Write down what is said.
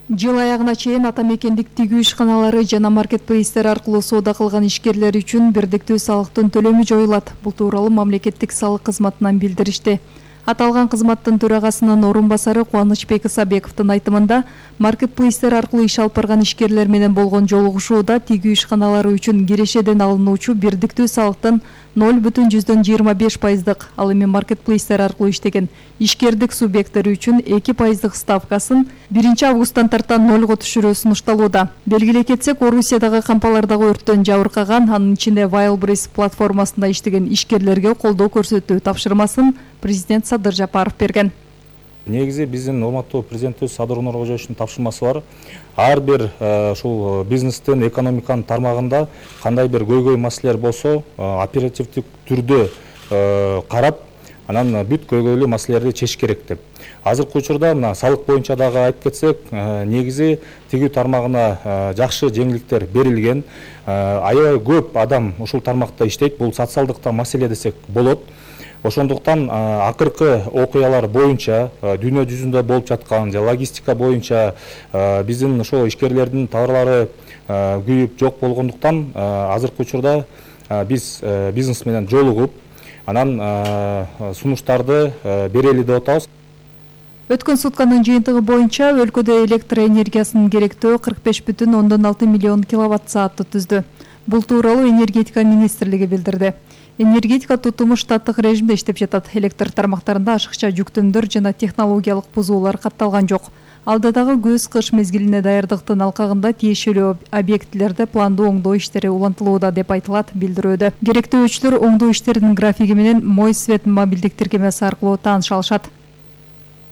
Жыл аягына чейин ата мекендик тигүү ишканалары жана маркетплейстер аркылуу соода кылган ишкерлер үчүн бирдиктүү салыктын төлөмү жоюлат. Бул тууралуу мамлекеттик салык кызматынан билдиришти. Аталган кызматтын төрагасынын орун басары Кубанычбек Исабековдун айтымында, маркетплейстер аркылуу иш алып барган ишкерлер менен болгон жолугушууда тигүү ишканалары үчүн кирешеден алынуучу бирдиктүү салыктын 0,25%, ал эми маркетплейстер аркылуу иштеген ишкердик субъекттери үчүн 2% ставкасын 1 августтан тарта 0 түшүрүү сунушталууда. Белгилей кетсек, Орусиядагы кампалардагы өрттөн жабыркаган, анын ичинде Wildberries платформасында иштеген ишкерлерге колдоо көрсөтүү тапшырмасын президент Садыр Жапаров берген. Негизи биздин урматтуу президентибиз Садыр Нуркожоевичтин тапшырмасы бар. Ар бир ушул бизнестин, экономиканын тармагында кандай бир көйгөй маселелер болсо, оперативдик түрдө карап, анан бүт көйгөйлүү маселелерди чечиш керек деп. Азыркы учурда мына салык боюнча дагы айтып кетсек, негизи тигүү тармагына жакшы жеңилдиктер берилген. Аябай көп адам ушул тармакта иштейт. Бул социалдык маселе десек болот. Ошондуктан акыркы окуялар боюнча дүйнө жүзүндө болуп жаткан логистика боюнча биздин ошол ишкерлердин товарлары күйүп жок болгондуктан азыркы учурда биз бизнес менен жолугуп, анан сунуштарды берели деп атабыз. Өткөн сутканын жыйынтыгы боюнча өлкөдө электр энергиясынын керектөө 45,6 миллион киловатт саатты түздү. Бул тууралуу энергетика министрлиги билдирди. Энергетика тутуму штаттык режимде иштеп жатат. Электр тармактарында ашыкча жүктөмдөр жана технологиялык бузуулар катталган жок. Алда дагы көз-кыш мезгилине даярдыктын алкагында тиешелүү объектилерде пландуу оңдоо иштери улантылууда деп айтылат билдирүүдө. Керектөө өчтөр оңдоо иштеринин графиги менен Мой свет мобилдик тиркемеси аркылуу тааныша алышат.